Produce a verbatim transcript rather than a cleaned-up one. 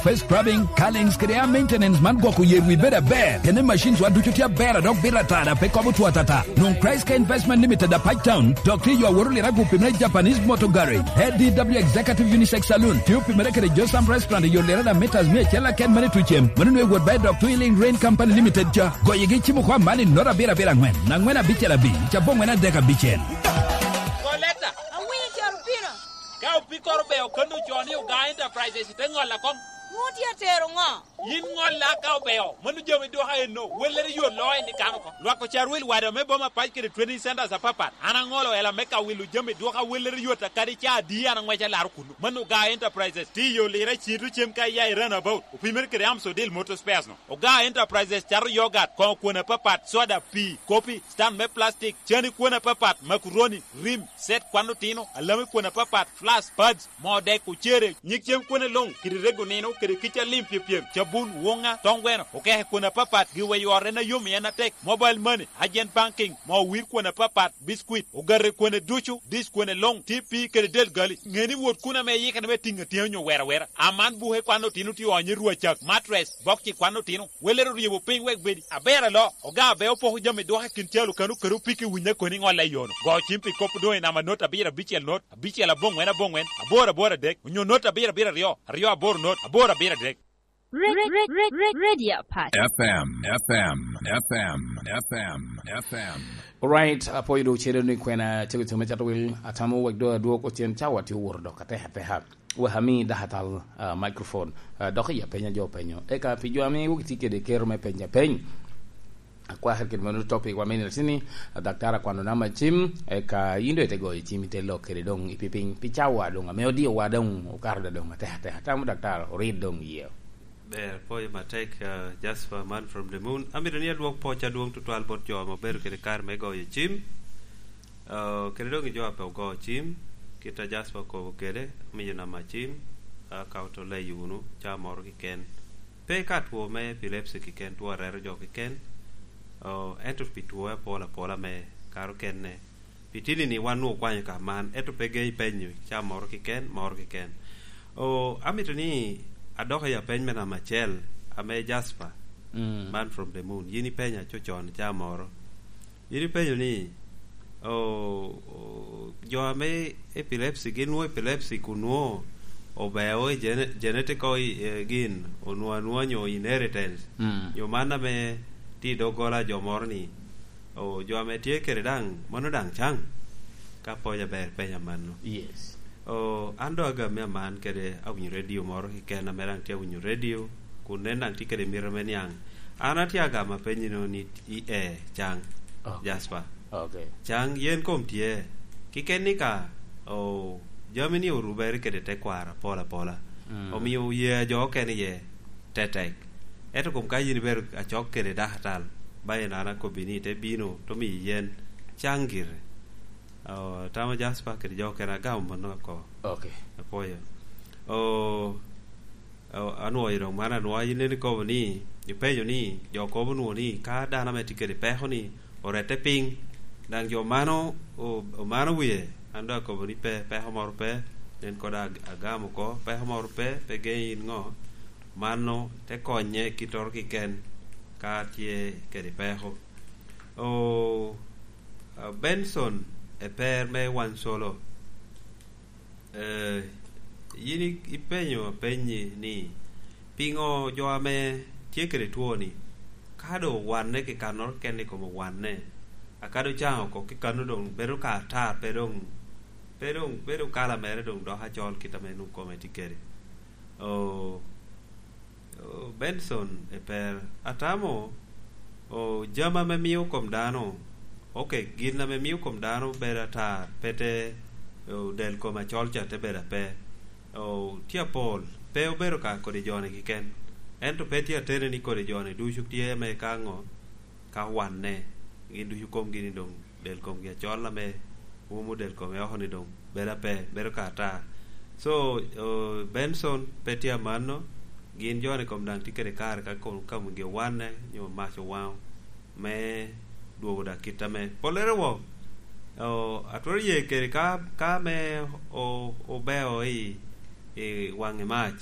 Face scrubbing, curlings, kede hair maintenance man gwok oye wi bedo aber. Kene machines wa ducu tye aber a dok bito atara pe kobo two atata. Nwoŋ Christ Care Investment Limited a Pac Town, dok tye yo awoto lira gu pimere Japanese Motor Garage. A D W Executive Unisex Saloon, tye opimere kede Josam Restaurant i yo lira da meters mia acel aken mane tucem. Mano nwe wot ba i dok Twilling Rain Company Limited ca. Goyegi cimo kwa man i nota abiro abiro angwen, angwen abicel abic, cabongwen adek abicel. Koleta. Awinyo caro pino. Ka opikoro be okanno ocoo ni Oga Enterprises te ŋolla kom. Ŋo tye atero ŋo? Yin ŋolla ka obeo, mano jami dwoka enno, wellere yot loo en i kan oko. Lwak ocar wil wade me boma pac kede training centers apapat. An aŋolo ela me ka wilo jami dwoka wellere yot akadi ca adi an aŋwec alaro kuno. Mano Oga Enterprises, tye i yo lira cito cem ka iya i Runabout, opimere kede Amsodil Motor Spares no. Oga Enterprises cato yogat, koŋo kwon apapat, soda, pii, kopi, stand me plastic, cani kwon apapat, makuroni, rim, set kwan otino, alami kwon apapat, flask, pads, moo dek, ocere, nyig cem kwene luŋ, kede rego nino, kede kica lim pyepyem, cabun, woŋa, toŋ gweno, okeke kwene apapat, giweyo ot en ayom i en atek, mobile money, agent banking, moo wir kwene apapat, biscuit, ogate kwene ducu, dish kwene luŋ, T P kede del gali. Ŋe ni wot kun ame iyikere me tiŋ atyeni onyo wera wera. Aman buke kwan otino tye onyo i rwacak, mattress, bokci kwan otino, welere oryebo piny wek bedi. Aber alo, oga abe opoko jami dwoka i kin calo kano kede opiki winyo koni ŋolla i yono. Go cim pi kop doŋ i namba not abiro abicel not, abicel aboŋwen aboŋwen, aboro aboro adek, onyo not abiro abiro aryo, aryo aboro not, aboro abiro adek. Re-, re-, re-, re-, Radio Pac. F M, F M, F M, F M, F M. Alright, apwoyo doŋ cero ni kwena cego cero me cato wil, atamo wek doŋ adwog ocen cawa tye oworo dok atek ateka. Wek ami dakatal, ah, microphone, ah, dok iya penya jo penyo. Eka pi jo ame wok tye kede kero me penya peny. Akwakere kede mano topic wa me nino tini, a, daktar akwano namba cim, eka yin doŋ ite goyo cim ite lok kede doŋ ipi piny, pi cawa doŋ ame odiowa doŋ okato da doŋ atek atek. Atamo daktar orit doŋ iye. Ber, pwoyo matek, a, Jasper man from the moon. Amito ni adwok pwoc adwoŋ tutwal bot jo ame obedo kede kare me goyo cim. A, kede doŋ i jo a pe ogo cim, kit a Jasper okobo kede, omiyo namba cim, a, ka oto leyo wunu, ca moro kiken. Pe ka two me epilepsy kiken, two areto jo kiken, o, ento pi two apol apola me kare okene. Pi tini-ni wan nwoŋo okwanyo ka man, ento pe gei penyo ca moro kiken, moro kiken. O, amito ni adok i apeny me namba acel, ame Jasper, mm, man from the moon. Yin ipenya cocon ca moro. Yin ipenyo ni, o, o, jo ame epilepsy, gin nwoŋo epilepsy kun nwoŋo obeo i gene-, genetical i, eh, gin, onwoŋo anwoŋa nyo inheritance, mm, nyo man ame tye i doggola a jo moro ni, o, jo ame tye kede daŋ, mano daŋ caŋ? Ka pwony aber penya mano. Yes. O, an doŋ agam me aman kede awinyo radio moro keken ame daŋ tye awinyo radio, kun en daŋ tye kede mito me niaŋ. An atye agamo apenyi no ni i e caŋ, ok, Jasper. Ok. Caŋ yen kom tye. Kiken ni ka, o, jami ni orubere kede tekwaro apol apola. Mm. Omio ye a jo okene iye tetek. Ento kom ka yin ibedo acok kede dakatal, ba en an akobbi ni ite bino, to miyi yen caŋ gire. O, tamo Jasper kede jo okene agamo mano oko. Ok. Apwoyo. O, o, anwoyo doŋ man anwoya, yin en ikobo ni, ipenyo ni, jo kobo nwoŋo ni, ka dano ame tye kede peko ni, orette piny, daŋ jo mano o-, omano wie, an doŋ akobo ni pe, peko moro pe, nen koda ag-, agamo oko, peko moro pe, pe geŋ in ŋo, mano te konye kittoro kiken ka tye kede peko. O, a, Benson, eper me Wansolo. Eh, yin i-, ipenyo apenyi ni, piŋo jo ame tye kede two-ni, ka doŋ owanne kikannoro keken i kom owanne, a ka doŋ caŋ oko kikano doŋ bedo ka ata, pe doŋ, pe doŋ bedo kala mere doŋ dok acol kit ame nwoŋo kome tye kede? O, o, Benson, eper, atamo, o, jami ame mio kom dano, ok, gin ame mio kom dano bedo ata, pe te, o, del kom acol ca te bedo ape. O, tye apol, pe obedo ka kodi joni keken. Ento pe tye ateni ni kodi joni ducu tye me ka ŋo, ka wanne, gin ducu komgi ni doŋ del komgi acol ame umo del kome oko ni doŋ bedo ape, bedo ka ata. So, o, Benson pe tye amanno, gin joni kom daŋ tye kede kare ka kom, ka omigi owanne, nyo mac owaŋo, me dwogo da kit ame pollere wok. O, atwero ye kede ka, ka me o-, obeo i, i waŋ i mac,